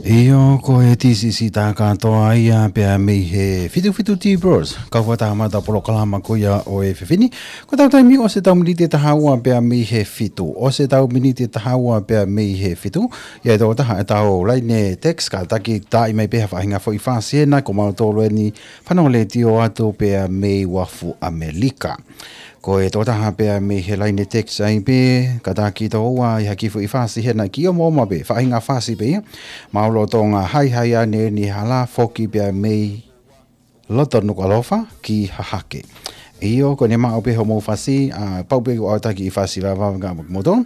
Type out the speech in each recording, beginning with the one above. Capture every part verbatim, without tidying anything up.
ʻIo, ko e T C C tā kātoa ia pea mei he fitu fitu T Bros. Kau fakataha mai ʻetau polokalama ko ia ʻo e efiafi ni. Ko ʻetau taimi ʻosi ʻetau miniti ʻe taha ua pea mei he fitu. ʻOsi ʻetau miniti ʻe taha ua pea mei he fitu. ʻI ai e tokotaha ʻetau laine text, kātaki tā mai pē ha faʻahinga foʻi fasi hena, ko mautolu eni fanongo letiō atu pea mei Uafu ʻAmelika. Ko e tokotaha pea mei he laine text ai pē, kātaki tō ua ʻi ha kiʻi foʻi fasi hena, kiʻi omaoma pē, faʻahinga fasi pē ia. Mālō Tonga, haihai ʻanenai hala, foki pea mei loto Nukuʻalofa ki Hahake. ʻIo, ko ʻene maʻu pē hoʻomou fasi, ʻa, pau pē ʻoku ʻautaki ʻi fasi lava ngā moto.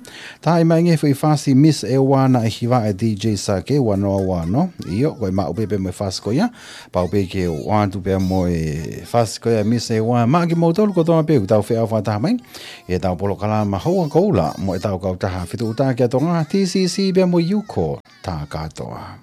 Tā mai ange foʻi fasi Miss ʻEua naʻe hiva ʻe D J Sake, ua noa ua noa. ʻIo, ko e maʻu pē pea mo e fasi ko ia. Pau pē ke u ʻoatu pea mo e fasi ko ia Miss ʻEua. Maʻa kimoutolu kotoa pē ʻoku tau feʻao fakataha mai ʻi heʻetau polokalama Houa Koula mo ʻetau kautaha Fetuʻutaki ʻa Tonga, T C C pea mo e Uko tā kātoa.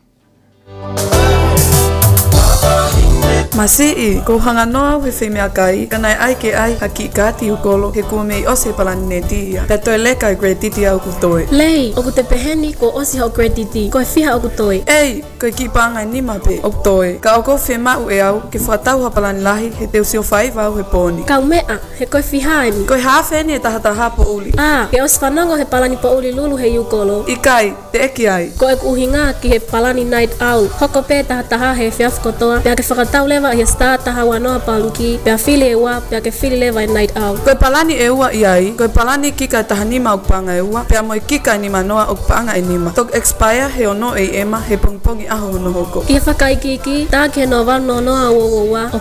Masiʻi, kuo u hanganoa au he feimeʻakai, ka naʻe ʻai ke ʻai ha kiʻi kaati ʻūkolo, he kuo mei ʻosi e palani neti ia. Pea toe leka e credit ia ʻoku toe. Lei, ʻoku te pehē ni kuo ʻosi hoʻo credit, ko e fiha ʻoku toe? ʻEi, ko e kiʻi paʻanga ʻe nima pē ʻoku toe. Ka ʻoku ou fiemaʻu ʻe au ke fakatau ha palani lahi, he te u sio faiva au he pō ni. Kaumeʻa, he ko e fiha eni? Ko e hafe eni e taha taha poʻuli. ʻĀ, ke ʻosi fanongo he palani poʻuli lulu he ʻūkolo? ʻIkai, teʻeki ai. Ko ʻeku ʻuhinga ki he palani Night Owl. Hoko pē taha taha he efiafi kotoa, pea ke fakatau leva ʻi he star taha ua noa pound key, pea fili e ua, pea ke fili leva e Night Owl. Ko e palani ʻe ua ʻi ai, ko e palani kika ʻe taha nima ʻoku paʻanga ʻe ua, pea mo e kika ʻe nima noa ʻoku paʻanga ʻe nima. Toki expire he ono A M he pongipongi ʻaho hono hoko. ʻI he fakaikiiki, tā ki he noa valu noa noa ua ua ua, ʻo